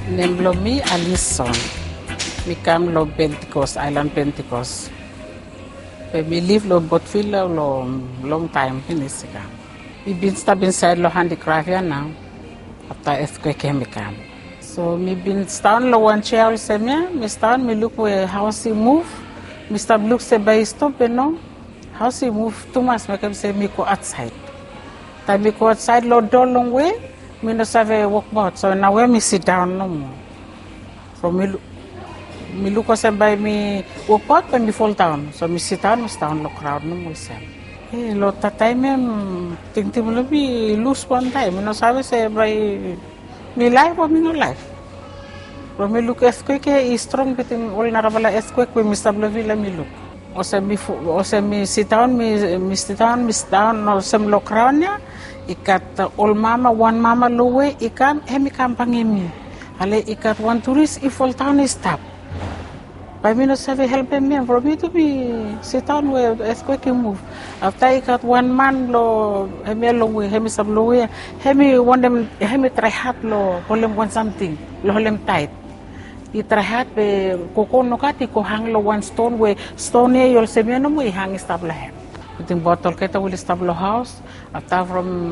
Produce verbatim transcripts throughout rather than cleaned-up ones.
Nem blong mi Alison. Mi kam long Pentikos, aelan Pentikos. Be mi liv long Botvila long longtaem finis i kam. Mi bin stap insaed long handikraf ya nao. Afta etkwek ya mi kam. So mi bin sidaon long wan jea olsem ya, mi sidaon mi luk we haos i muv. Mi stap luk se bae i stop be no. Haos i muv tumas, mekem se mi go aotsaed. Taem mi go aotsaed long doa longwe, mi no save wokbaot, so naoia mi sidaon nomo. From mi luk olsem bae mi wokbaot bae mi foldaon, so mi sidaon mi sidaon long graon nomo olsem. E long dat taem ya tingting blong mi i lus wantaem, mi no save se bae mi laef o mi no laef. From mi luk etkwek ya i strong bitim ol narafala etkwek we mi stap long vila mi luk. Olsem mi sidaon mi sidaon mi sidaon olsem long graon ya, i gat ol mama, wan mama long we i kam hem i kam bangem mi. Ale i gat wan turis i foldaon i stap. Bae mi no save helpem hem from mi tu mi sidaon we etkwek i muv. Afta i gat wan man long hemia long we hem i stap long we ya, hem i wantem hem i trae had long holem wan samting long holem taet. I trae had be gogo nogat i go hang long wan ston we ston ya i olsem ya nomo i hang i stap long hem. Tingbaot olgeta we oli stap long haos. Afta from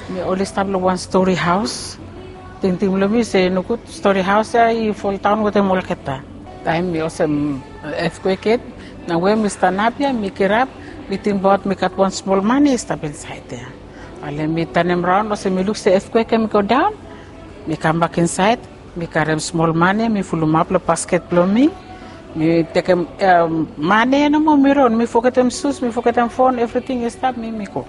mi oli stap long wan stori haos. Tingting blong mi se nogud stori haos ya i foldaon wetem olgeta. Taem mi olsem etkwek yet, naoia mi stanap ya mi kirap, mi tingbaot mi gat wan smol mane i stap insaed ya. Ale mi tanem raon olsem mi luk se etkwek ya mi godaon. Mi kambak insaed, mi karem smol mane mi fulumap long basket blong mi. Mi tekem mane ya nomo mi ron, mi fogetem sus, mi fogetem fon, evriting i stap, mi mi go.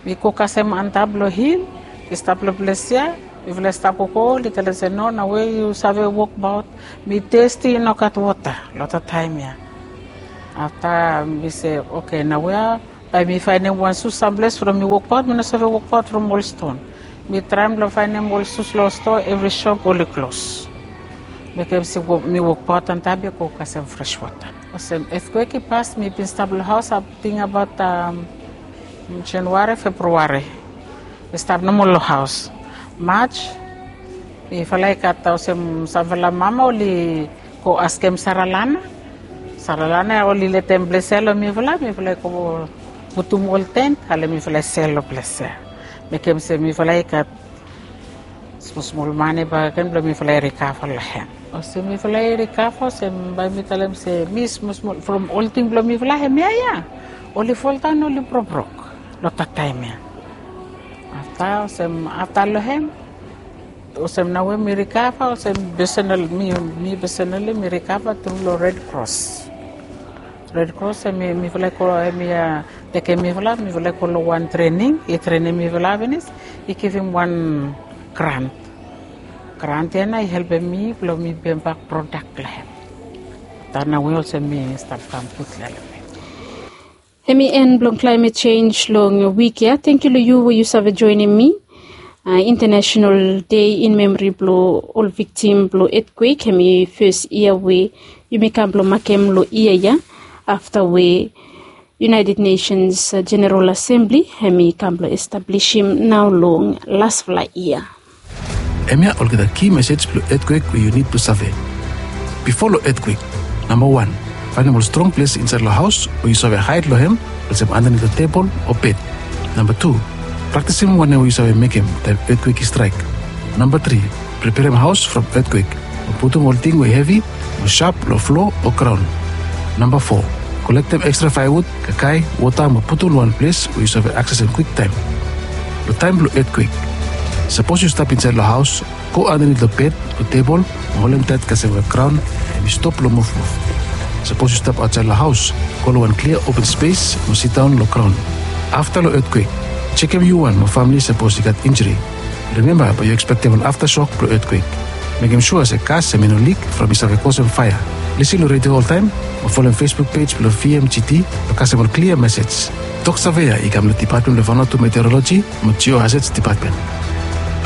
Mi go kasem antap long hil i stap long ples ya. Mifala i stap gogo, oli talem se no, naoia yu save wokbaot. Mi testi, i no gat wota long dat taem ya. Afta mi se oke, naoia bae mi faenem wan sus samples from mi wokbaot, mi no save wokbaot from ol ston. Mi traem blong faenem ol sus long stoa, evri sop oli klos. Mekem se mi wokbaot antap ya go kasem fres wota. Olsem etkwek i pas, mi bin stap long haos ating abaot Januari, Februari. Mi stap nomo long haos. Maj mifala i gat olsem samfala mama oli go askem saralana. Saralana oli letem ples ya long mifala, mifala i go putum ol tent, ale mifala i sel long ples ya. Mekem se mifala i gat smosmol mane bakegen blong mifala i rikava long hem. Olsem mifala i rikava olsem bae mi talem se mi smosmol from ol ting blong mifala hemia ya oli foldaon, oli brobrok long dat taem ya. Afta olsem afta long hem, olsem naoia mi rikava olsem pesenal, mi pesenali mi rikava tru long Red Cross. Red Cross hemi mifala i go, hemi tekem mifala, mifala i go long wan trening, i trenem mifala finis, i givim wan grant. Grant ya nao i helpem mi blong mi pembak prodak long hem. Afta naoia olsem mi stap kam gud long hem. Hemi en blong klaemet jenj long wik ya. Tangkiu long yu we yu save joenem mi. International Day in Memory blong ol viktim blong etkwek, hemi fes yia we yumi kam blong makem long yia ya, afta we United Nations General Assembly hemi kam blong establisim nao long lasfala yia. Hemia olgeta ki mesej blong etkwek we yu nid blong save. Bifo long etkwek, namba wan, faenem ol strong ples insaed long haos we yu save haed long hem, olsem andanit long tebol o bed. Namba tu, praktisim wanem we yu save mekem taem etkwek i straek. Namba tri, preperem haos from etkwek mo putum ol ting we hevi mo sap long flo o graon. Namba fo, kolektem ekstra faewud, kakae, wota mo putum long wan ples we yu save aksesem kwiktaem. Long taem blong etkwek, sapos yu stap insaed long haos, go andanit long bed o tebol mo holem taet kasem we graon hemi stop long muvmuv. Sapos yu stap aotsaed long haos, go long wan klia open spes mo sidaon long graon. Afta long etkwek, jekem yu wan mo famle sapos i gat injri. Rimemba bae yu ekspektem ol aftasok blong etkwek. Mekem sua se gas hemi no lik from i save kosem faea. Lisin long redio oltaem o folem Facebook pej blong V M G T blong kasem ol klia mesej. Tok save ya i kam long Dipatmen blong Vanuatu Meteoroloji mo Geohazards Dipatmen.